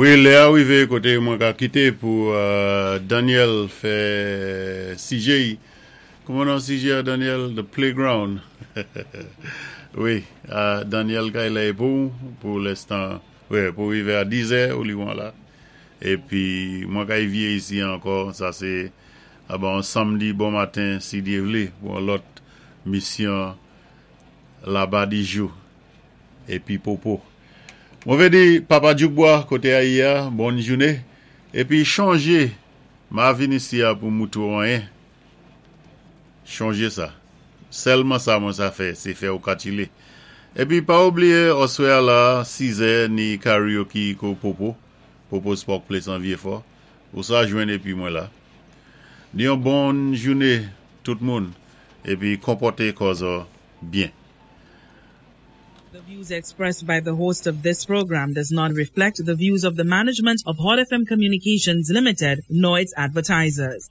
Wi, lè a wivé koté mwen ka kité pou Daniel fè sijé. Kouman non sijé a, Daniel? The Playground. Wi, Daniel kay la pou lenstan. Wi, pou wivé a 10 è ou li wan la. Épi mwen kay vyé isi ankò, sa sé aba yon samdi bon maten si Dye vlé pou yon lòt misyon Laba di jou épi Popo. Mwen vé di Papa Djoukbwa koté a yé a, bòn jouné. Épi chonjé, ma vin isi a pou moutré ou anyen. Chonjé sa. Sèlman sa mwen sa fè, sé fè ou katchilé. Épi pa oubliyé oswè a la, 6 è, ni karaoke ko Popo, Popo's Pork Place an Vyéfò. Ou sa jwenn épi mwen la. Di yon bòn jouné tout moun épi konpòté kò zò byen. The views expressed by the host of this program does not reflect the views of the management of Hot FM Communications Limited nor its advertisers.